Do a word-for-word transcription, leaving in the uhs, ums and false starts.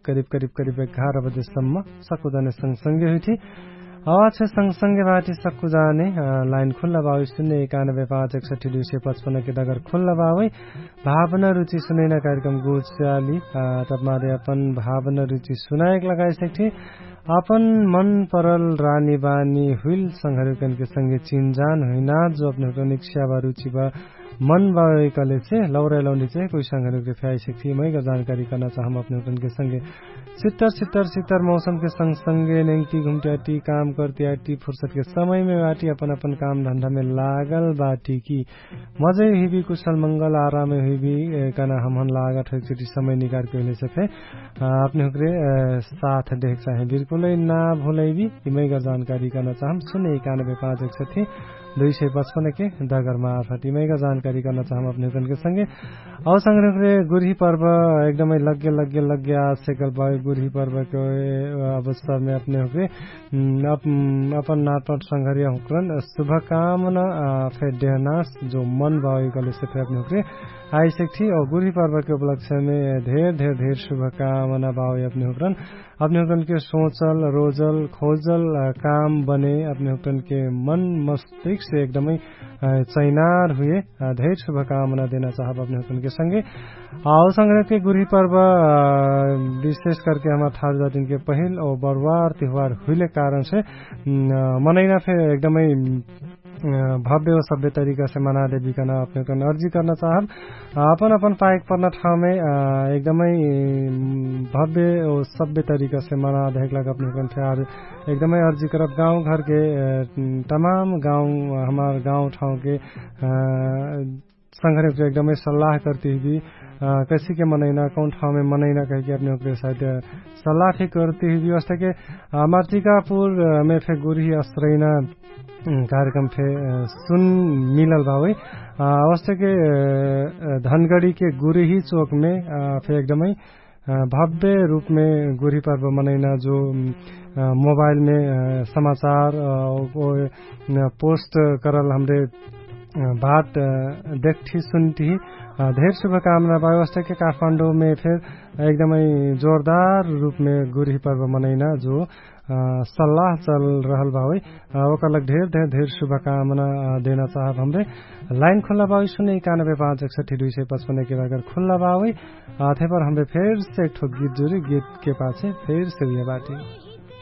करिब करिब करिब एघार बजेसम्म सक्कु जाने सँगसँगे हुइठी। आवाज छे सँगसँगे बाटी सक्कु जाने। लाइन खुल्ला बाउ सुन्ने एकानबे पाँच एकसठी दुई सय पचपन्न के दगर खुल्ला बाउ है। भावना रुचि सुनैना कार्यक्रम गुज्याली तब मारे अपन भावना रुचि सुनाएक लगाइसक्ठी। अपन मन परल रानी बानी हुइल संघरुकन के संगे चिन्जान हुइना जो अपने हुकन इक्ष्या बा रुचि बा मन बावे कहले से लौरे लौनी चाहिँ कोइ संघरुक रे फ्याइसक्ठी मैका जानकारी कर्ना चाहम अपने हुकन के संगे। सित्तर सित्तर सित्तर मौसम के संग संगे नेङ्टी घुम्ट्याटी काम कर्ट्याटी फुर्सत के समय मे बाटी अपन अपन काम धन्धा मे लागल बाटी कि मजै हुइबी कुशल मंगल आरामे हुइबी। कहना हमहन लागत होइ चुटी समय निकार के हुइले से फे अपने हुकरे साथ देख चाहे बिल्कुलै ना भुलैबी। इमैका जानकारी कर्ना चाहम सुने एकानबे पाँच एकसठी दुई सय पचपन्न के दगरमा आफटी मैका जानकारी कर्ना चाहम अपने हुकन के संगे। औ संगे हुकरे गुरही पर्व एकदमै लग्गे लग्गे लग्गे आसेकल बाउ गुरही पर्व के अवसर मे अपने हुकरे अपन नाटपट संघरिया हुकरन शुभकामना फे देहनास जो मन बाउ कहले से फे अपने हुकरे आइसक्ठी औ गुरही पर्व के उपलक्ष्य मे धेर धेर धेर शुभकामना बाउ अपने हुकरन अपने हुकरन के सोचल रोजल खोजल काम बने अपने हुकरन के मन मस्तिक से एकदमै चैनार हुए। धेर शुभकामना देना चाहब अपने हुकरन के संगे। औ संगे के गुरही पर्व विशेष करके हमार ठार जातिन के पहिल औ बरुवार तिहुवार हुइले कारण से मनैना फे एकदमै भव्य औ सभ्य तरिका से मना देबी कहना अपने हुकरन अर्जी कर्ना चाहब। अपन अपन पाएक पर्ना ठाउमे एकदमै भव्य औ सभ्य तरिका से मना देहक लाग अपने हुकरन फे आर एकदमै अर्जी करब गाउँ घर के तमाम गाउँ हमार गाउँ ठाउँ के संघरे हुकरे एकदमै सल्लाह कर्ती हुइबी। कैसी के मनैना कौन ठाउँ मे मनैना कहिके अपने हुकरे साइत सल्लाह फे कर्ती हुइबी वस्ता के हमार टिकापुर मे फे गुरही असरैना कार्यक्रम फे सुन मिलल बावै। वस्ता के धनगडी के गुरही चोक मे फे एकदमै भव्य रूपमे गुरही पर्व मनैना जो मोबाइलमे समाचार पोस्ट करल हमरे बात देखठी सुनठी। धेर शुभकामना बावस्ता के काठमाण्डौमे फेर एकदमै जोरदार रूपमे गुरही पर्व मनैना जो सल्लाह चल रहल बावै। ओकरलक धेर धेर शुभकामना देना चाहब हमरे। लाइन खुल्ला बावै सुने एकानबे पाँच एकसठी दुई सय पचपन्न के बागर खुल्ला बावै। आथे पर हमरे फेर से एकठो गीत जुरी गीत के पाछे फेर से उहे बाटी।